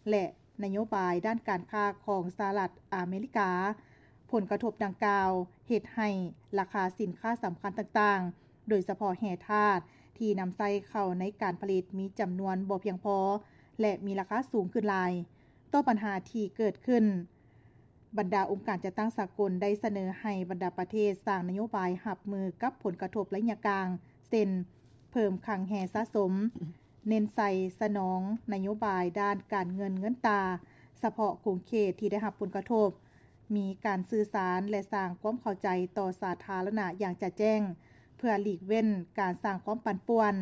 ແລະ ນະໂຍບາຍດ້ານການຄ້າຂອງສະຫະລັດອາເມລິກາ. ຜົນກະທົບດັ່ງກ່າວເຮັດໃຫ້ລາຄາສິນຄ້າສຳຄັນຕ່າງໆ ໂດຍສະເພາະແຮ່ທາດທີ່ນຳໃຊ້ເຂົ້າໃນການຜະລິດມີຈຳນວນບໍ່ພຽງພໍ ແລະ ມີລາຄາສູງຂຶ້ນຫຼາຍ. ຕໍ່ບັນຫາທີ່ເກີດຂຶ້ນ, ບັນດາອົງການຈັດຕັ້ງສາກົນໄດ້ສະເໜີໃຫ້ບັນດາປະເທດສ້າງນະໂຍບາຍຮັບມືກັບຜົນກະທົບໄລຍະກາງ ເຊັ່ນ ເພີ່ມຄັງແຮ່ສະສົມ, ເນັ້ນໃສ່ສະໜອງນະໂຍບາຍດ້ານການເງິນເງິນຕາສະເພາະຂົງເຂດທີ່ໄດ້ຮັບຜົນກະທົບ, ມີການສື່ສານ ແລະ ສ້າງຄວາມເຂົ້າໃຈຕໍ່ສາທາລະນະຢ່າງຈະແຈ້ງ ເພື່ອຫຼີກເວັ້ນການສ້າງຄວາມປັ່ນປ່ວນ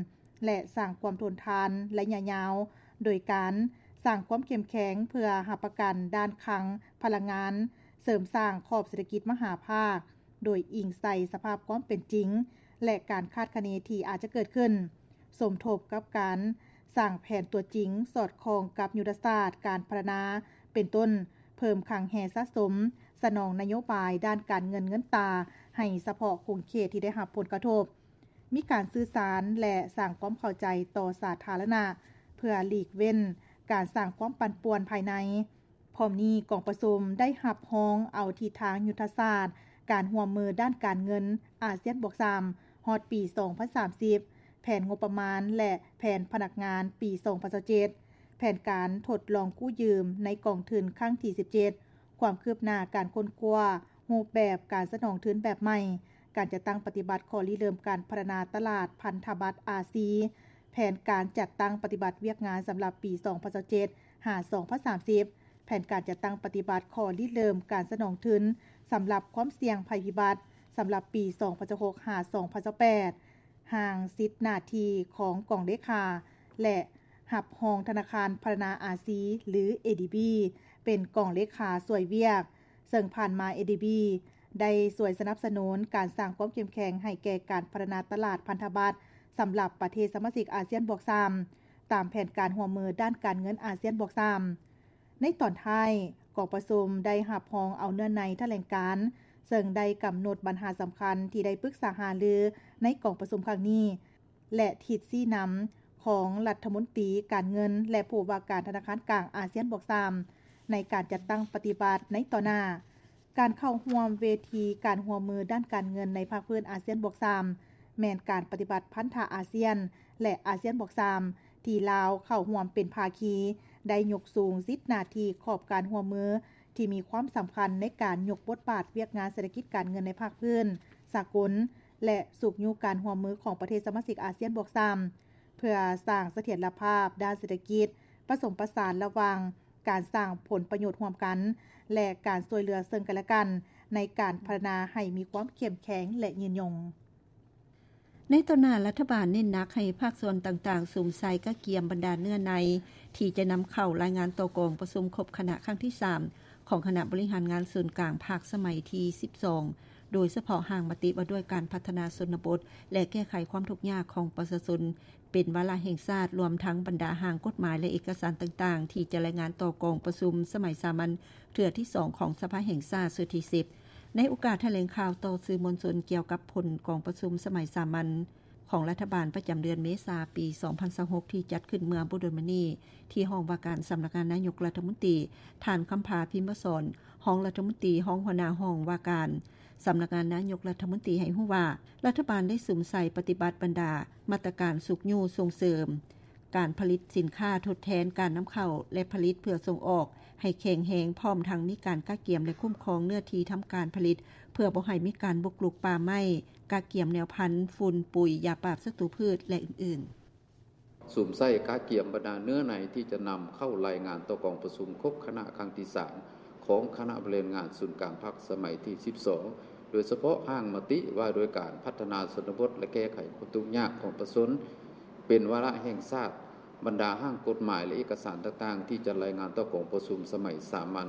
ແລະ ສ້າງຄວາມທົນທານໄລຍະຍາວ ໂດຍການສ້າງຄວາມເຂັ້ມແຂງເພື່ອຮັບປະກັນດ້ານຄັງພະລັງງານ, ເສີມສ້າງຂອບເສດຖະກິດມະຫາພາກ ໂດຍອີງໃສ່ສະພາບຄວາມເປັນຈິງ ແລະ ການຄາດຄະເນທີ່ອາດຈະເກີດຂຶ້ນ, ສົມທົບກັບການສ້າງແຜນຕົວຈິງສອດຄ່ອງກັບຍຸດທະສາດການພັດທະນາ, ເປັນຕົ້ນ ເພີ່ມຄັງແຮ່ສະສົມ, ສະໜອງນະໂຍບາຍດ້ານການເງິນເງິນຕາໃຫ້ສະເພາະຂົງເຂດທີ່ໄດ້ຮັບຜົນກະທົບ, ມີການສື່ສານ ແລະ ສ້າງຄວາມເຂົ້າໃຈຕໍ່ສາທາລະນະ ເພື່ອຫຼີກເວັ້ນການສ້າງຄວາມປັ່ນປ່ວນພາຍໃນ. ພ້ອມນີ້, ກອງປະຊຸມໄດ້ຮັບຮອງເອົາທິດທາງຍຸດທະສາດການຮ່ວມມືດ້ານການເງິນອາຊຽນບວກສາມ ຮອດປີສອງພັນສາມສິບ, ແຜນງົບປະມານ ແລະ ແຜນພະນັກງານປີສອງພັນຊາວເຈັດ, ແຜນການທົດລອງກູ້ຢືມໃນກອງທຶນຄັ້ງທີສິບເຈັດ, ຄວາມຄືບໜ້າການຄົ້ນຄວ້າຮູບແບບການສະໜອງທຶນແບບໃໝ່, ການຈັດຕັ້ງປະຕິບັດຂໍ້ລິເລີ່ມການພັດທະນາຕະຫຼາດພັນທະບັດອາຊີ, ແຜນການຈັດຕັ້ງປະຕິບັດວຽກງານສຳລັບປີສອງພັນຊາວເຈັດ ຫາ ສອງພັນສາມສິບ, ແຜນການຈັດຕັ້ງປະຕິບັດຂໍ້ລິເລີ່ມການສະໜອງທຶນສຳລັບຄວາມສ່ຽງໄພພິບັດສຳລັບປີສອງພັນຊາວຫົກ ຫາ ສອງພັນຊາວແປດ, ຮ່າງສິດໜ້າທີ່ຂອງກອງເລຂາ ແລະ ຮັບຮອງທະນາຄານພັດທະນາອາຊີ ຫຼື ເອດີບີ ເປັນກອງເລຂາຊ່ວຍວຽກ, ເຊິ່ງຜ່ານມາ ເອດີບີ ໄດ້ຊ່ວຍສະໜັບສະໜູນການສ້າງຄວາມເຂັ້ມແຂງໃຫ້ແກ່ການພັດທະນາຕະຫຼາດພັນທະບັດສຳລັບປະເທດສະມາຊິກອາຊຽນບວກສາມ ຕາມແຜນການຮ່ວມມືດ້ານການເງິນອາຊຽນບວກສາມ. ໃນຕອນທ້າຍ, ກອງປະຊຸມໄດ້ຮັບຮອງເອົາເນື້ອໃນຖະແຫຼງການ, ເຊິ່ງໄດ້ກຳນົດບັນຫາສຳຄັນທີ່ໄດ້ປຶກສາຫາລືໃນກອງປະຊຸມຄັ້ງນີ້ ແລະ ທິດຊີ້ນຳຂອງລັດຖະມົນຕີການເງິນ ແລະ ຜູ້ວ່າການທະນາຄານກາງອາຊຽນບວກສາມ ໃນການຈັດຕັ້ງປະຕິບັດໃນຕໍ່ໜ້າ. ການເຂົ້າຮ່ວມເວທີການຮ່ວມມືດ້ານການເງິນໃນພາກພື້ນອາຊຽນບວກສາມ ແມ່ນການປະຕິບັດພັນທະອາຊຽນ ແລະ ອາຊຽນບວກສາມ ທີ່ລາວເຂົ້າຮ່ວມເປັນພາຄີ, ໄດ້ຍົກສູງສິດໜ້າທີ່ຂອບການຮ່ວມມືທີ່ມີຄວາມສຳຄັນໃນການຍົກບົດບາດວຽກງານເສດຖະກິດການເງິນໃນພາກພື້ນສາກົນ ແລະ ຊຸກຍູ້ການຮ່ວມມືຂອງປະເທດສະມາຊິກອາຊຽນບວກສາມ ເພື່ອສ້າງສະຖຽນລະພາບດ້ານເສດຖະກິດ, ປະສົມປະສານລະຫວ່າງການສ້າງຜົນປະໂຫຍດຮ່ວມກັນ ແລະ ການຊ່ວຍເຫຼືອເຊິ່ງກັນແລະກັນ ໃນການພັດທະນາໃຫ້ມີຄວາມເຂັ້ມແຂງ ແລະ ຍືນຍົງ. ໃນຕໍ່ໜ້າ, ລັດຖະບານເນັ້ນໜັກໃຫ້ພາກສ່ວນຕ່າງໆ ສຸມໃສ່ກະກຽມບັນດາເນື້ອໃນ ທີ່ຈະນຳເຂົ້າລາຍງານຕໍ່ກອງປະຊຸມຄົບຄະນະຄັ້ງທີສາມ ຂອງຄະນະບໍລິຫານງານສູນກາງພັກສະໄໝທີສິບສອງ ໂດຍສະເພາະຮ່າງມະຕິວ່າດ້ວຍການພັດທະນາຊົນນະບົດ ແລະ ແກ້ໄຂຄວາມທຸກຍາກຂອງປະຊາຊົນ ເປັນວາລະແຫ່ງຊາດ, ລວມທັງບັນດາຮ່າງກົດໝາຍ ແລະ ເອກະສານຕ່າງໆ ທີ່ຈະລາຍງານຕໍ່ກອງປະຊຸມສະໄໝສາມັນເທື່ອທີສອງຂອງສະພາແຫ່ງຊາດຊຸດທີສິບ. ໃນໂອກາດຖະແຫຼງຂ່າວຕໍ່ສື່ມວນຊົນກ່ຽວກັບຜົນກອງປະຊຸມສະໄໝສາມັນຂອງລັດຖະບານປະຈຳເດືອນເມສາ ປີສອງພັນຊາວຫົກ ທີ່ຈັດຂຶ້ນເມື່ອບໍ່ດົນມານີ້ ທີ່ຫ້ອງວ່າການສຳນັກງານນາຍົກລັດຖະມົນຕີ, ທ່ານ ຄຳພາ ພິມມະສອນ ຮອງລັດຖະມົນຕີ, ຮອງຫົວໜ້າຫ້ອງວ່າການ ສຳນັກງານນາຍົກລັດຖະມົນຕີໃຫ້ຮູ້ວ່າ, ລັດຖະບານໄດ້ສຸມໃສ່ປະຕິບັດບັນດາມາດຕະການຊຸກຍູ້ສົ່ງເສີມການຜະລິດສິນຄ້າທົດແທນການນຳເຂົ້າ ແລະ ຜະລິດເພື່ອສົ່ງອອກໃຫ້ແຂງແຮງ, ພ້ອມທັງມີການກະກຽມ ແລະ ຄຸ້ມຄອງເນື້ອທີ່ທຳການຜະລິດ ເພື່ອບໍ່ໃຫ້ມີການບຸກລຸກປ່າໄມ້, ກະກຽມແນວພັນ, ຝຸ່ນ, ປຸ໋ຍ, ຢາປາບສັດຕູພືດ ແລະ ອື່ນໆ. ສຸມໃສ່ກະກຽມບັນດາເນື້ອໃນທີ່ຈະນຳເຂົ້າລາຍງານຕໍ່ກອງປະຊຸມຄົບຄະນະຄັ້ງທີສາມ ຂອງຄະນະບໍລິຫານງານສູນກາງພັກສະໄໝທີສິບສອງ ໂດຍສະເພາະຮ່າງມະຕິວ່າດ້ວຍການພັດທະນາຊົນນະບົດ ແລະ ແກ້ໄຂຄວາມທຸກຍາກຂອງປະຊາຊົນ ເປັນວາລະແຫ່ງຊາດ, ບັນດາຮ່າງກົດໝາຍ ແລະ ເອກະສານຕ່າງໆ ທີ່ຈະລາຍງານຕໍ່ກອງປະຊຸມສະໄໝສາມັນ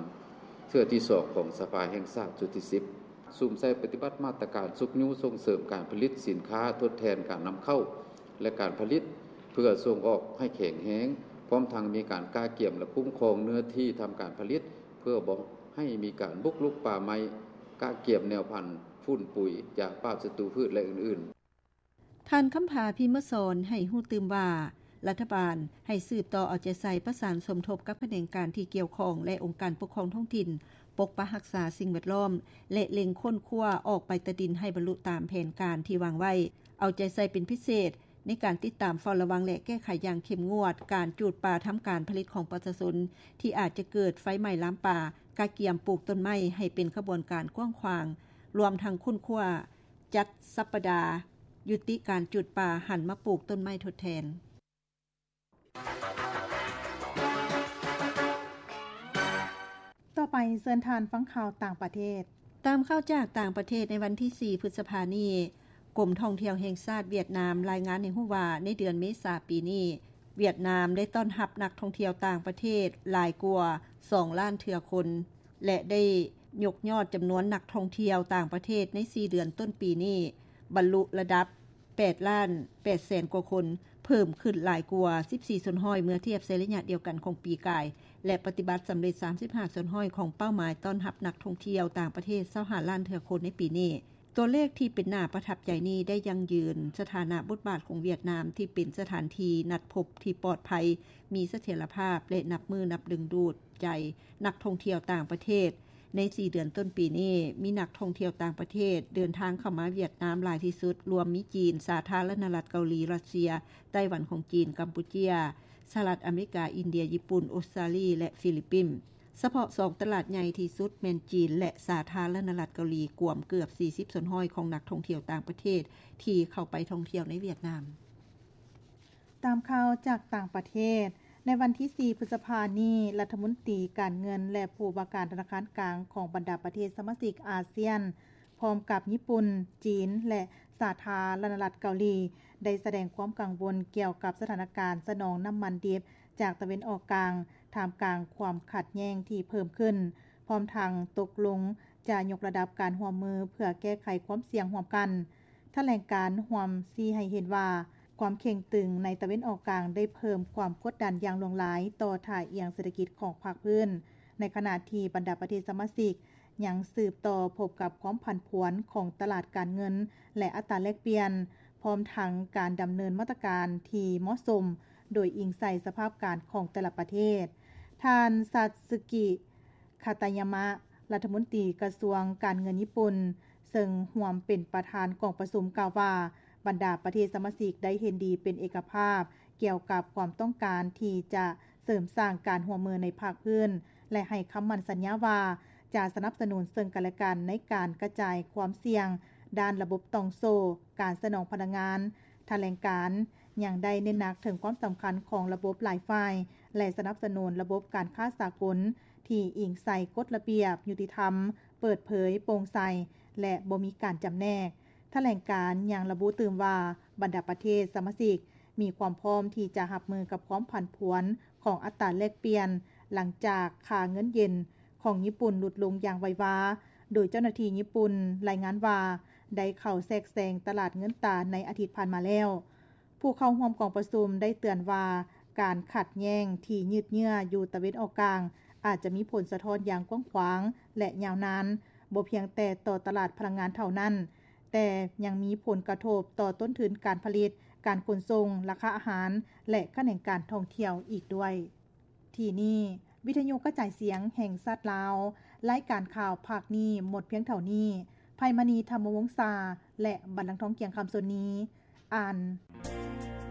ເທື່ອທີສອງຂອງສະພາແຫ່ງຊາດຊຸດທີສິບ. ສຸມໃສ່ປະຕິບັດມາດຕະການຊຸກຍູ້ສົ່ງເສີມການຜະລິດສິນຄ້າທົດແທນການນຳເຂົ້າ ແລະ ການຜະລິດເພື່ອສົ່ງອອກໃຫ້ແຂງແຮງ, ພ້ອມທັງມີການກະກຽມ ແລະ ຄຸ້ມຄອງເນື້ອທີ່ທຳການຜະລິດ ເພື່ອບໍ່ໃຫ້ມີການບຸກລຸກປ່າໄມ້, ກະກຽມແນວພັນ, ຝຸ່ນ, ປຸ໋ຍ, ຢາປາບສັດຕູພືດ ແລະ ອື່ນໆ. ທ່ານ ຄຳພາ ພິມມະສອນ ໃຫ້ຮູ້ຕື່ມວ່າ, ລັດຖະບານໃຫ້ສືບຕໍ່ເອົາໃຈໃສ່ປະສານສົມທົບກັບຂະແໜງການທີ່ກ່ຽວຂ້ອງ ແລະ ອົງການປົກຄອງທ້ອງຖິ່ນ ປົກປັກຮັກສາສິ່ງແວດລ້ອມ ແລະ ເລັ່ງຄົ້ນຄວ້າອອກໄປຕາດິນໃຫ້ບັນລຸຕາມແຜນການທີ່ວາງໄວ້, ເອົາໃຈໃສ່ເປັນພິເສດໃນການຕິດຕາມເຝົ້າລະວັງ ແລະ ແກ້ໄຂຢ່າງເຂັ້ມງວດການຈູດປ່າທຳການຜະລິດຂອງປະຊາຊົນ ທີ່ອາດຈະເກີດໄຟໄໝ້ລາມປ່າ, ກະກຽມປູກຕົ້ນໄມ້ໃຫ້ເປັນຂະບວນການກວ້າງຂວາງ, ລວມທັງຄົ້ນຄວ້າ ຈັດສັບປະດາຢຸດຕິການຈູດປ່າ, ຫັນມາປູກຕົ້ນໄມ້ທົດແທນ. ຕໍ່ໄປເຊີນທ່ານຟັງຂ່າວຕ່າງປະເທດ. ຕາມຂ່າວຈາກຕ່າງປະເທດ, ໃນວັນທີສີ່ ພຶດສະພານີ້, ກົມທ່ອງທ່ຽວແຫ່ງຊາດຫວຽດນາມລາຍງານໃຫ້ຮູ້ວ່າ ໃນເດືອນເມສາປີນີ້, ຫວຽດນາມໄດ້ຕ້ອນຮັບນັກທ່ອງທ່ຽວຕ່າງປະເທດຫຼາຍກວ່າສອງລ້ານເທື່ອຄົນ ແລະ ໄດ້ຍົກຍອດຈຳນວນນັກທ່ອງທ່ຽວຕ່າງປະເທດໃນສີ່ເດືອນຕົ້ນປີນີ້ ບັນລຸລະດັບແປດລ້ານແປດແສນກວ່າຄົນ, ເພີ່ມຂຶ້ນຫຼາຍກວ່າສິບສີ່ສ່ວນຮ້ອຍ ເມື່ອທຽບໃສ່ໄລຍະດຽວກັນຂອງປີກາຍ ແລະ ປະຕິບັດສຳເລັດສາມສິບຫ້າສ່ວນຮ້ອຍຂອງເປົ້າໝາຍຕ້ອນຮັບນັກທ່ອງທ່ຽວຕ່າງປະເທດຊາວຫ້າລ້ານເທື່ອຄົນໃນປີນີ້. ຕົວເລກທີ່ເປັນໜ້າປະທັບໃຈນີ້ໄດ້ຢັ້ງຢືນສະຖານະບົດບາດຂອງຫວຽດນາມທີ່ເປັນສະຖານທີ່ນັດພົບທີ່ປອດໄພ, ມີສະຖຽນລະພາບ ແລະ ນັບມື້ນັບດຶງດູດໃຈນັກທ່ອງທ່ຽວຕ່າງປະເທດ. ໃນສີ່ເດືອນຕົ້ນປີນີ້, ມີນັກທ່ອງທ່ຽວຕ່າງປະເທດເດີນທາງເຂົ້າມາຫວຽດນາມຫຼາຍທີ່ສຸດ, ລວມມີຈີນ, ສາທາລະນະລັດເກົາຫຼີ, ຣັດເຊຍ, ໄຕ້ຫວັນຂອງຈີນ, ກຳປູເຈຍ, ສະຫະລັດອາເມລິກາ, ອິນເດຍ, ຍີ່ປຸ່ນ, ອົດສະຕາລີ ແລະ ຟີລິບປິນ. ສະເພາະສອງຕະຫຼາດໃຫຍ່ທີ່ສຸດແມ່ນຈີນ ແລະ ສາທາລະນະລັດເກົາຫຼີ, ກວມເກືອບສີ່ສິບສ່ວນຮ້ອຍຂອງນັກທ່ອງທ່ຽວຕ່າງປະເທດທີ່ເຂົ້າໄປທ່ອງທ່ຽວໃນຫວຽດນາມ. ຕາມຂ່າວຈາກຕ່າງປະເທດ, ໃນວັນທີສີ່ ພຶດສະພານີ້, ລັດຖະມົນຕີການເງິນ ແລະ ຜູ້ວ່າການທະນາຄານກາງຂອງບັນດາປະເທດສະມາຊິກອາຊຽນ ພ້ອມກັບຍີ່ປຸ່ນ, ຈີນ ແລະ ສາທາລະນະລັດເກົາຫຼີ ໄດ້ສະແດງຄວາມກັງວົນກ່ຽວກັບສະຖານະການສະໜອງນ້ຳມັນດິບຈາກຕາເວັນອອກກາງ, ທ່າມກາງຄວາມຂັດແຍ່ງທີ່ເພີ່ມຂຶ້ນ, ພ້ອມທັງຕົກລົງຈະຍົກລະດັບການຮ່ວມມືເພື່ອແກ້ໄຂຄວາມສ່ຽງຮ່ວມກັນ. ຖະແຫຼງການຮ່ວມຊີ້ໃຫ້ເຫັນວ່າ ຄວາມເຄັ່ງຕຶງໃນຕາເວັນອອກກາງໄດ້ເພີ່ມຄວາມກົດດັນຢ່າງຫຼວງຫຼາຍຕໍ່ທ່າອ່ຽງເສດຖະກິດຂອງພາກພື້ນ, ໃນຂະນະທີ່ບັນດາປະເທດສະມາຊິກ ຍັງສືບຕໍ່ພົບກັບຄວາມຜັນຜວນຂອງຕະຫຼາດການເງິນ ແລະ ອັດຕາແລກປ່ຽນ, ພ້ອມທັງການດຳເນີນມາດຕະການທີ່ເໝາະສົມ ໂດຍອີງໃສ່ສະພາບການຂອງແຕ່ລະປະເທດ. ທ່ານ ຊາດຊຶກິ ຄາຕາຍາມະ, ລັດຖະມົນຕີກະຊວງການເງິນຍີ່ປຸ່ນ, ເຊິ່ງຮ່ວມເປັນປະທານກອງປະຊຸມ ກ່າວວ່າ ບັນດາປະເທດສະມາຊິກໄດ້ເຫັນດີເປັນເອກະພາບ ກ່ຽວກັບຄວາມຕ້ອງການທີ່ຈະເສີມສ້າງການຮ່ວມມືໃນພາກພື້ນ ແລະ ໃຫ້ຄຳໝັ້ນສັນຍາວ່າ ຈະສະໜັບສະໜູນເຊິ່ງກັນແລະກັນໃນການກະຈາຍຄວາມສ່ຽງດ້ານລະບົບຕ່ອງໂສ້ການສະໜອງພະລັງງານ. ຖະແຫຼງການຍັງໄດ້ເນັ້ນໜັກເຖິງຄວາມສຳຄັນຂອງລະບົບຫຼາຍຝ່າຍ ແລະ ສະໜັບສະໜູນລະບົບການຄ້າສາກົນທີ່ອີງໃສ່ກົດລະບຽບ, ຍຸຕິທຳ, ເປີດເຜີຍ, ໂປ່ງໃສ ແລະ ບໍ່ມີການຈຳແນກ. ຖະແຫຼງການຍັງລະບຸຕື່ມວ່າ ບັນດາປະເທດສະມາຊິກມີຄວາມພ້ອມທີ່ຈະຮັບມືກັບຄວາມຜັນຜວນຂອງອັດຕາແລກປ່ຽນ ຫຼັງຈາກຄ່າເງິນເຢັນຂອງຍີ່ປຸ່ນຫຼຸດລົງຢ່າງໄວວາ, ໂດຍເຈົ້າໜ້າທີ່ຍີ່ປຸ່ນລາຍງານວ່າ ໄດ້ເຂົ້າແຊກແຊງຕະຫຼາດເງິນຕາໃນອາທິດຜ່ານມາແລ້ວ. ຜູ້ເຂົ້າຮ່ວມກອງປະຊຸມໄດ້ເຕືອນວ່າ ການຂັດແຍ່ງທີ່ຍືດເຍື້ອຢູ່ຕາເວັນອອກກາງ ອາດຈະມີຜົນສະທ້ອນຢ່າງກວ້າງຂວາງ ແລະ ຍາວນານ, ບໍ່ພຽງແຕ່ຕໍ່ຕະຫຼາດພະລັງງານເທົ່ານັ້ນ, ແຕ່ຍັງມີຜົນກະທົບຕໍ່ຕົ້ນທຶນການຜະລິດ, ການຂົນສົ່ງ, ລາຄາອາຫານ ແລະ ຂະແໜງການທ່ອງທ່ຽວອີກດ້ວຍ. ທີ່ນີ້ ວິທະຍຸກະຈາຍສຽງແຫ່ງຊາດລາວ, ລາຍການຂ່າວພາກນີ້ໝົດພຽງເທົ່ານີ້. ໄພມະນີ ທຳມະວົງສາ ແລະ ບັນລັງທອງ ກຽງຄຳ ສ່ວນນີ້ ອ່ານ.